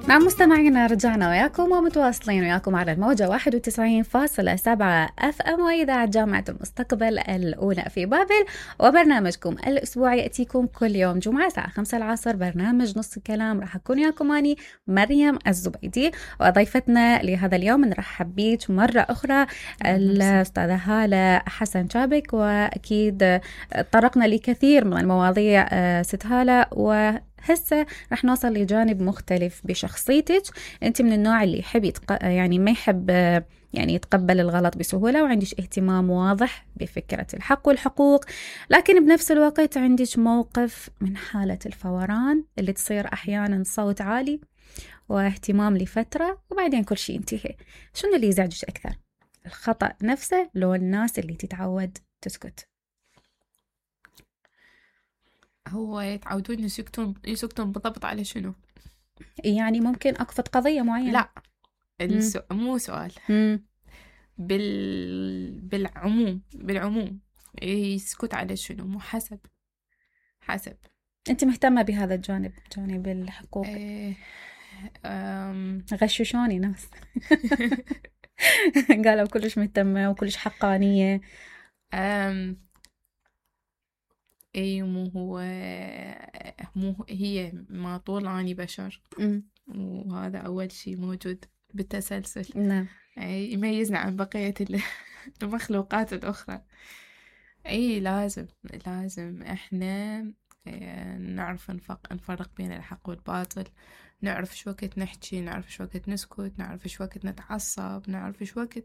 نعم مستمعينا، رجعنا وياكم ومتواصلين وياكم على الموجة 91.7 FM وإذاعة جامعة المستقبل الأولى في بابل. وبرنامجكم الأسبوعي يأتيكم كل يوم جمعة الساعة 5 العصر، برنامج نص الكلام. راح أكون وياكم أني مريم الزبيدي، وضيفتنا لهذا اليوم نرحب بيك مرة أخرى الأستاذة هالة حسن شابك. وأكيد طرقنا لكثير من المواضيع ست هالة، هسه رح نوصل لجانب مختلف بشخصيتك. أنت من النوع اللي يحب يعني ما يحب يعني يتقبل الغلط بسهولة، وعندش اهتمام واضح بفكرة الحق والحقوق، لكن بنفس الوقت عندك موقف من حالة الفوران اللي تصير أحيانا صوت عالي واهتمام لفترة وبعدين كل شيء ينتهي. شنو اللي يزعجك أكثر؟ الخطأ نفسه لو الناس اللي تتعود تسكت؟ هو يتعودون يسكتون بالضبط على شنو؟ يعني ممكن أقفض قضية معينة. لا مو سؤال. بالعموم يسكت على شنو؟ مو حسب. أنت مهتمة بهذا الجانب، جانب الحقوق؟ غششوني ناس قالوا كلش مهتمة وكلش حقانية. اي مو هي ما طول اني بشر، وهذا اول شيء موجود بالتسلسل. نعم. يميزنا عن بقية المخلوقات الاخرى. اي لازم احنا نعرف نفرق بين الحق والباطل، نعرف شو وقت نحكي، نعرف شو وقت نسكت، نعرف شو وقت نتعصب، نعرف شو وقت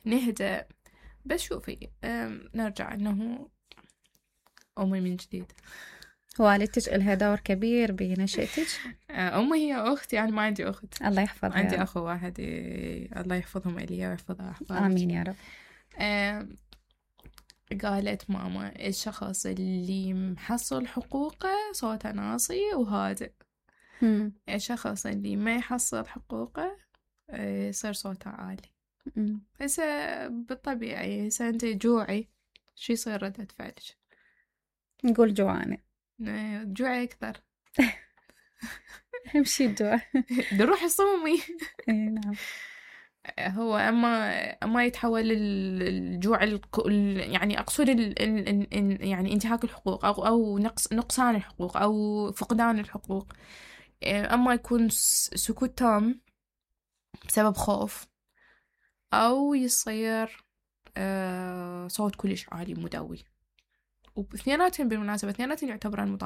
نهدأ. بس شوفي، نرجع انه أمي من جديد. والدتك إلها دور كبير بنشأتك؟ أمي هي أختي، يعني ما عندي أخت. الله يحفظها. عندي أخو واحد، الله يحفظهم إلي ويحفظ أحفادك. آمين يا رب. قالت ماما الشخص اللي محصل حقوقه صوته ناصي وهادئ، الشخص اللي ما يحصل حقوقه يصير صوته عالي. هسه بالطبيعي هسه أنت جوعي، شو يصير ردة فعلك؟ نقول جوعانة. جوعي أكثر. امشي الجوع نروح الصومي. نعم. هو أما يتحول الجوع يعني أقصد يعني انتهاك الحقوق أو نقصان الحقوق أو فقدان الحقوق. أما يكون سكوت تام بسبب خوف، أو يصير صوت كلش عالي مدوي. واثنيناتهم بالمناسبة يعتبران مطالبة